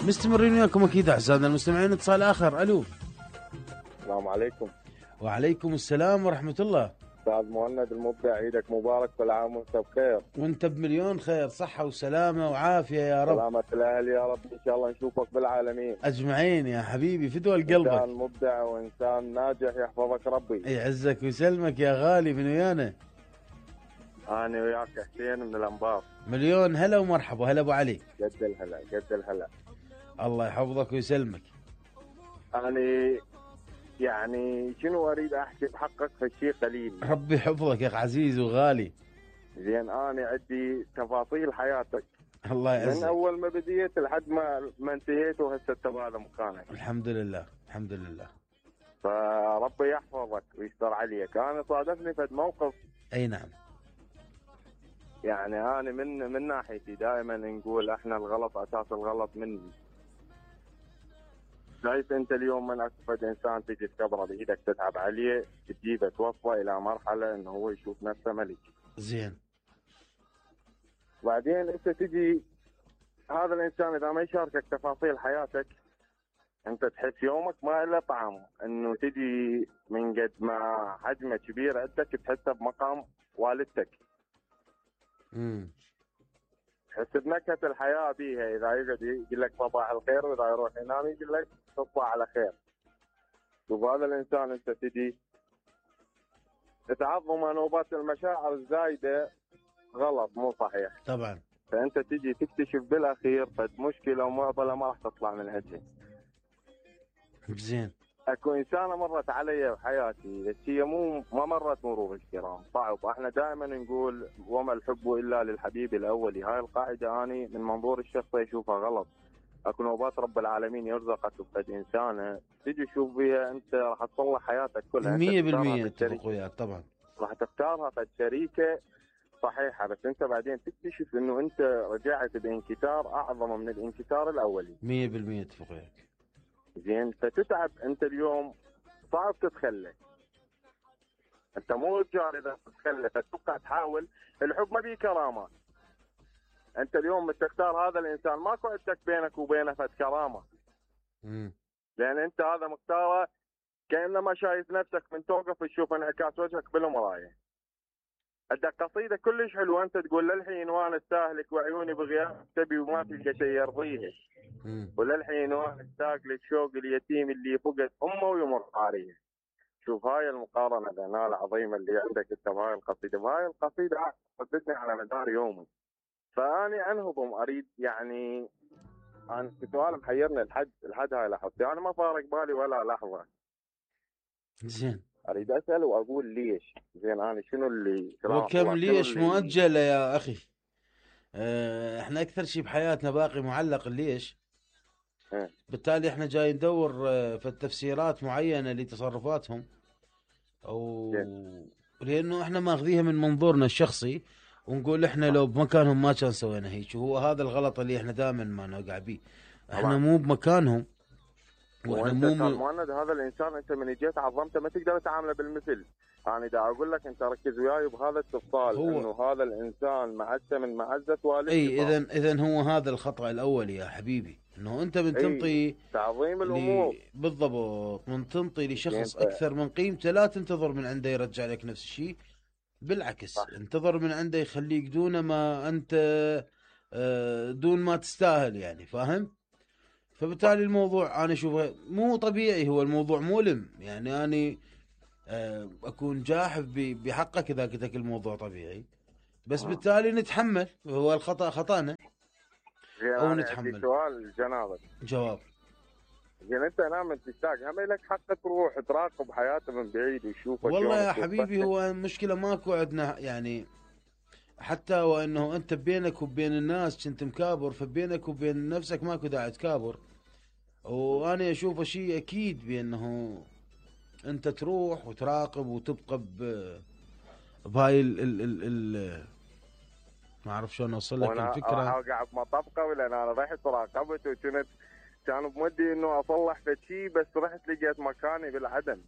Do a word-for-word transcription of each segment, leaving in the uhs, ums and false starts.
مستمرين وياكم اكيد اعزائنا المستمعين. اتصال اخر. الو. السلام عليكم. وعليكم السلام ورحمة الله. استاذ مهند المبدع، عيدك مبارك، كل عام وانت بخير. وانت بمليون خير، صحة وسلامة وعافية يا رب. سلامة الاهل يا رب، ان شاء الله نشوفك بالعالمين اجمعين يا حبيبي، فدوى قلبك. انسان مبدع وانسان ناجح، يحفظك ربي. يعزك ويسلمك يا غالي. من ويانا؟ انا وياك حسين من الانبار. مليون هلا ومرحبا. هلا ابو علي. قد الهلا قد الهلا. الله يحفظك ويسلمك. انا يعني شنو اريد احكي بحقك في شيء قليل. ربي يحفظك يا اخ عزيز وغالي. زين انا عندي تفاصيل حياتك الله يعزك، من اول ما بديت لحد ما ما انتهيت وهسه انت بهذا مكانك. الحمد لله الحمد لله. فربي يحفظك ويستر عليك. انا صادفني في موقف. اي نعم. يعني انا من من ناحيتي دائما نقول احنا الغلط اساس الغلط مني. شايف انت اليوم من اكفد انسان تجي تكبره بايدك تتعب عليه تجيبه توصله الى مرحله انه هو يشوف نفسه ملك. زين. وبعدين انت تجي هذا الانسان اذا ما يشاركك تفاصيل حياتك انت تحس يومك ما له طعم، انه تجي من قد ما حجمه كبير عندك تحسه بمقام والدتك. امم تحس بنكهه الحياه بيها، اذا يقعد يقول لك صباح الخير واذا يروح ينام يقول لك تصبح على خير. وهذا الانسان انت تجي تعظم نوبات المشاعر الزايده غلط مو صحيح. طبعا. فانت تجي تكتشف بالاخير فد مشكله ومعضله ما راح تطلع من عندها. زين. اكو انسانه مرت علي بحياتي، بس هي مو ما مرت مرور الكرام، صعب. احنا دائما نقول وما الحب الا للحبيب الاولي، هاي القاعده اني من منظور الشخصي اشوفها غلط. اكو نوبات رب العالمين يرزقك بفد انسانه تجي تشوف بها انت راح تصلح حياتك كلها. مية بالمية اتفق وياك طبعا. راح تختارها فد شريكه صحيحه، بس انت بعدين تكتشف انه انت رجعت بانكسار اعظم من الانكسار الاولي. مية بالمية اتفق وياك. زين. فتتعب انت اليوم، صعب تتخلى. انت مو رجال اذا تتخلى فتبقى تحاول. الحب ما بيه كرامات. انت اليوم تختار هذا الانسان ماكو عندك بينك وبينه فد كرامه. امم لان انت هذا مختاره كانما شايف نفسك من توقف تشوف انعكاس وجهك بالمرايه. عندك قصيده كلش حلوه انت تقول للحين وانا استهلك وعيوني بغياب تبي وما تلقى شيء يرضيها. وللحين وانا اشتاق لك شوق اليتيم اللي فقد امه ويمر عليه. شوف هاي المقارنه الانال العظيمه اللي عندك انت بهاي القصيده، وهاي القصيده ردتني على مدار يومي. فاني انهضم اريد يعني انا السؤال محيرني لحد لحد هاي لحظتي، انا ما فارق بالي ولا لحظه. زين. اريد اسال واقول ليش. زين انا شنو اللي وكم ليش اللي... مؤجله يا اخي. اه احنا اكثر شيء بحياتنا باقي معلق ليش. اه. بالتالي احنا جاي ندور اه في التفسيرات معينه لتصرفاتهم، او اه. لانه احنا ماخذيها من منظورنا الشخصي ونقول احنا لو بمكانهم ما كان سوينا هيك. وهو هذا الغلط اللي احنا دائما ما نوقع به. احنا مو بمكانهم واحنا مو مهند. هذا الانسان انت من جيت عظمته ما تقدر تعامله بالمثل. انا دا اقول لك انت ركز وياي بهذا التفصيل انه هذا الانسان معزه من معزه والدته. اي اذا اذا هو هذا الخطا الاول يا حبيبي، انه انت من تنطي تعظيم الامور لي... بالضبط. من تنطي لشخص اكثر من قيمته لا تنتظر من عنده يرجع لك نفس الشيء. بالعكس صح. انتظر من عنده يخليك دون ما انت دون ما تستاهل يعني، فاهم؟ فبالتالي الموضوع انا اشوفه مو طبيعي، هو الموضوع مؤلم. يعني انا اكون جاحف بحقك اذا قلت لك الموضوع طبيعي، بس آه. بالتالي نتحمل. هو الخطا خطانا او نتحمل. سؤال جنابك جواب. زين انت نام تشتاق هم لك حق تروح تراقب حياته من بعيد وتشوفه. والله يا حبيبي هو المشكله ماكو عندنا يعني، حتى وانه انت بينك وبين الناس كنت مكابر، فبينك وبين نفسك ماكو داعي تكابر. وانا اشوفه شيء اكيد بانه انت تروح وتراقب وتبقى ب بهاي ال ال ال ال ما اعرف شلون اوصل لك الفكره. انا اوقع بمطبقه ولا انا رحت راقبت وكنت كان بمدي انه اصلح شيء بس رحت لقيت مكاني بالعدم.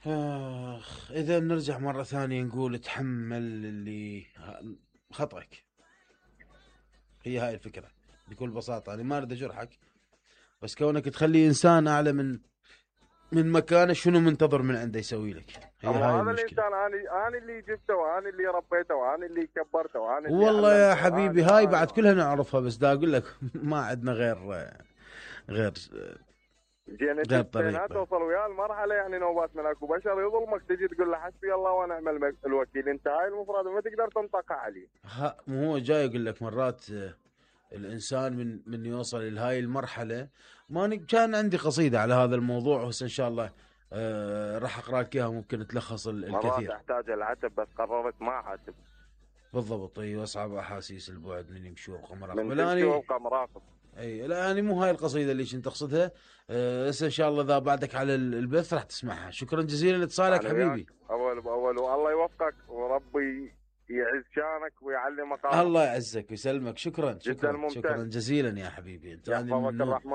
اخ اذا نرجع مره ثانيه نقول تحمل اللي خطأك. هي هاي الفكره. بكل بساطه. انا ما اريد اجرحك، بس كونك تخلي انسان اعلى من من مكانه، شنو منتظر من عنده يسوي لك؟ هي اما هاي هذا المشكله. الانسان انا انا اللي جبته وانا اللي ربيته وانا اللي كبرته وانا اللي والله يا علمته حبيبي وأنا- هاي وأنا- بعد وأنا. كلها نعرفها، بس دا اقول لك ما عندنا غير غير زين انت غير بينها طريقه. توصل ويا المرحله يعني نوبات من اكو بشر يظلمك تجي تقول له حسبي الله ونعم المك- الوكيل، انت هاي المفروض ما تقدر تنطقها عليه. ها مو هو جاي يقول لك مرات آه، الانسان من من يوصل لهاي المرحله. ما ن- كان عندي قصيده على هذا الموضوع، بس ان شاء الله آه راح اقرا لك اياها، ممكن تلخص ال- مرات الكثير. احتاج العتب بس قررت ما اعاتب. بالضبط. اي واصعب احاسيس البعد من يمشي وابقى من مراقب. تمشي الاني وابقى مراقب. اي لا انا مو هاي القصيده اللي كنت اقصدها. آه، هسه ان شاء الله اذا بعدك على ال- البث راح تسمعها. شكرا جزيلا لاتصالك أنا وياك حبيبي. اول باول، والله يوفقك وربي يعز شانك ويعلي مقامك. الله يعزك ويسلمك. شكرا جدا شكرا ممتن. شكرا جزيلا يا حبيبي. انت أنا يحفظك من- الرحمن.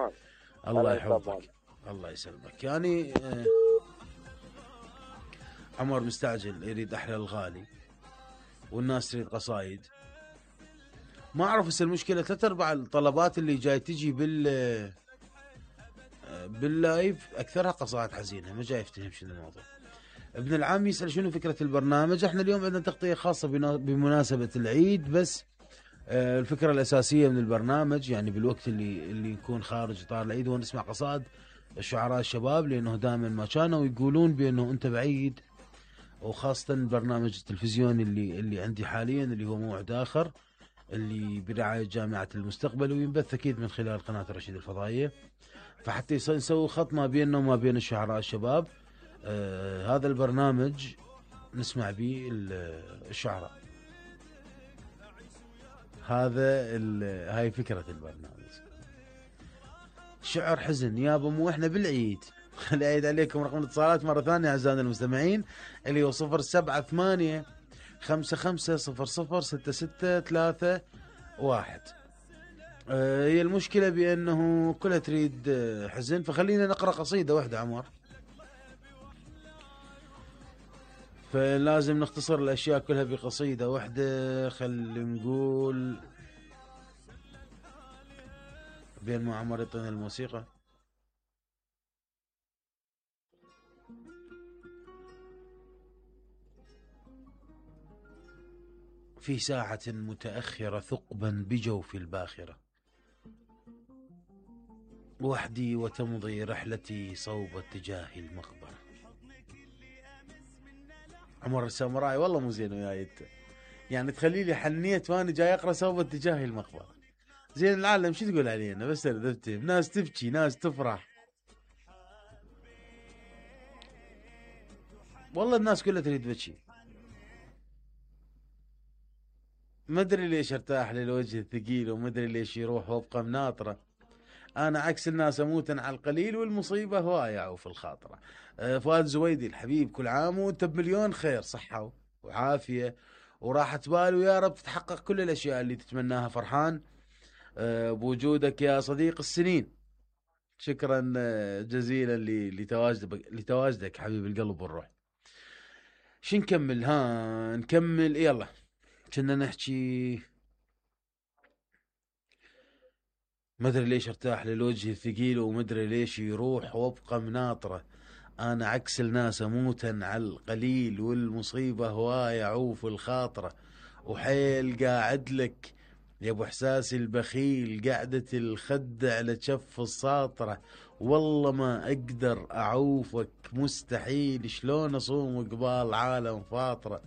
الله الله يحفظك. يسلمك. الله يسلمك. يعني آه، عمر مستعجل يريد احلى الغالي، والناس تريد قصايد. ما اعرف هسه المشكله ثلاث ارباع الطلبات اللي جاي تجي بال آه، باللايف اكثرها قصائد حزينه، ما جاي يفتهم شنو الموضوع. ابن العم يسال شنو فكره البرنامج. احنا اليوم عندنا تغطيه خاصه بنا- بمناسبه العيد، بس آه، الفكره الاساسيه من البرنامج يعني بالوقت اللي اللي يكون خارج اطار العيد هو نسمع قصائد الشعراء الشباب، لانه دائما ما كانوا يقولون بانه انت بعيد. وخاصه البرنامج التلفزيوني اللي اللي عندي حاليا اللي هو موعد اخر، اللي برعايه جامعه المستقبل، وينبث اكيد من خلال قناه الرشيد الفضائيه. فحتى يص- نسوي خط ما بيننا وما بين الشعراء الشباب. آه هذا البرنامج نسمع به ال- الشعراء. هذا ال- هاي فكرة البرنامج. شعر حزن يابا، مو احنا بالعيد. خلي اعيد عليكم رقم الاتصالات مرة ثانية اعزائنا المستمعين، اللي هو صفر سبعة ثمانية خمسة خمسة صفر صفر ستة ستة ثلاثة واحد. آه، هي المشكلة بأنه كلها تريد آه، حزن، فخلينا نقرأ قصيدة واحدة عمر. فلازم نختصر الأشياء كلها بقصيدة واحدة. خلي نقول بين ما عمر يعطينا الموسيقى. في ساعة متأخرة ثقبا بجوف الباخرة، وحدي وتمضي رحلتي صوب اتجاه المقبرة. عمر الساموراي والله مو زين وياي انت، يعني تخلي لي حنيت وانا جاي اقرا صوب اتجاه المقبرة. زين العالم شو تقول علينا؟ بس افتهم، ناس تبكي ناس تفرح. والله الناس كلها تريد تبكي. ما ادري ليش ارتاح للوجه الثقيل، وما ادري ليش يروح وابقى مناطره. انا عكس الناس اموتا على القليل والمصيبه هوايه في الخاطره. آه، فؤاد زويدي الحبيب، كل عام وانت بمليون خير صحه وعافيه وراحه بال، ويا رب تتحقق كل الاشياء اللي تتمناها. فرحان آه، بوجودك يا صديق السنين. شكرا آه، جزيلا ل- لتواجدك لتواجدك حبيب القلب والروح. شو نكمل؟ ها نكمل يلا. كنا نحكي ما ادري ليش ارتاح للوجه الثقيل، وما ادري ليش يروح وابقى مناطره. انا عكس الناس اموتا على القليل والمصيبه هوايه عوف الخاطره. وحيل قاعد لك يا ابو احساسي البخيل، قعدة الخد على كف الساطره. والله ما اقدر اعوفك مستحيل، شلون اصوم قبال عالم فاطره.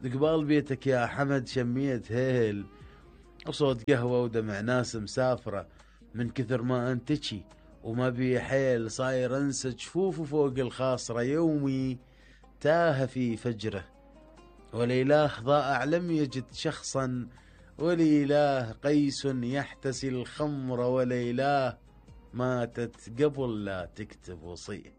قبال بيتك يا حمد شميت هيل، وصوت قهوة ودمع ناس مسافرة. من كثر ما انتشي وما بي حيل صاير انسى جفوف فوق الخاصرة. يومي تاه في فجره، وليلاه ضائع لم يجد شخصا. وليلاه قيس يحتسي الخمر، وليلاه ماتت قبل لا تكتب وصيه.